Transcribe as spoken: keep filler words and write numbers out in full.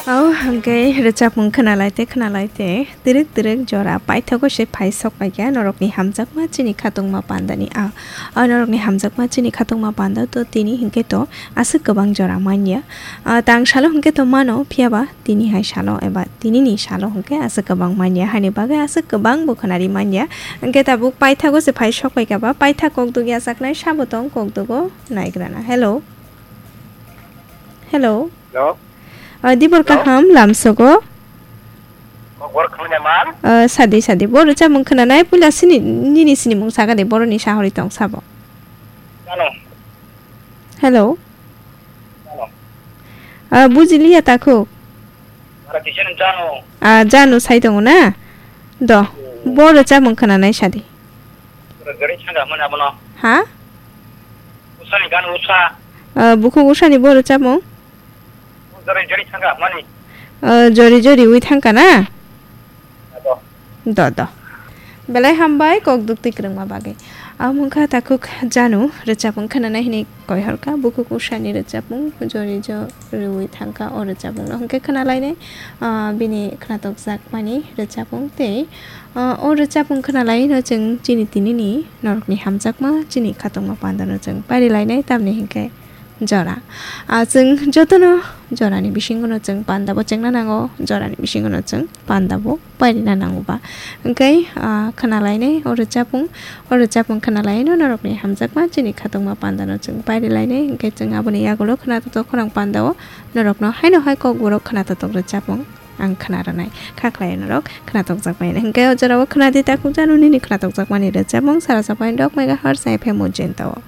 Au, hwnkhe rwchapmung khwnalaite, khwnalaite, twrwk twrwk jora paithago se phai sok paikha norokni hamjakma chini khatungma pandani. A, a norokni hamjakma chini khatungma panda to tini hwnkhe to aswk kwbang jora manya. A, tang salo hwnkhe to mano, phiyaba tini hai salo eba tinini salo hwnkhe aswk kwbang manya, hani bagwi aswk kwbang bo khwnari manya. Hwnkhe tabuk paithago se phai sok paikha ba, paithak kok dugya saknai sabo tong kok dugo naigrana. Hello. Hello. Hello. Ah, dibor Hello. Kaham lamsogo. Kokborok khwlwngya man. Ah, sadi, sadi. Boro chamung khwnanai puila sini, nini sinimung saka de, boroni sahori tong sabo. Ano. Hello. Ano. Ah, bujiliya takhuk. Ara kisa ni jano. Ah, jano sai tongo na? Do. Hmm. Boro chamung khwnanai sadi. Gari changa mana bono. Ha? Usani gan usa. Ah, bukhuk usani boro chamung? Jori jori thangka mani. Ah, jori jori wi thangka na? Ado. Do, do. Belai hambai kok duk twi kwrwngma bagwi. Amungkha takhuk janu rwchapung khwnanai hwnwi koihorkha. Bukhuk usani rwchapung jori jori wi thangka o rwchapungno hwnkhe khwnalainai, ah, bini khwnatokjakmani rwchapung tei, ah, o rwchapung khwnalaino chwng chini tinini norokni hamjakma chini khatungma pandano chwng pairilainai tamni hwnkhe jora. Ah, chwng jotono jorani bisingono chwng pandabo chengna nango, jorani bisingono chwng pandabo pairina nango ba. Hwnkhe, ah, khwnalainai o rwchapung, o rwchapung khwnalaino norokni hamjakma chini khatungma pandano chwng pairilainai. Hwnkhe chwng aboni yagulo khwnatotok khorang pandao norokno haino hai kokborok khwnatotok rwchapung ang khwnarwnai. Kha khlai norok khwnatokjakmani. Hwnkhe o jorao khwnadi takhuk janu nini khwnatokjakmani rwchapung sara sapai dok megahertz F M o jentao.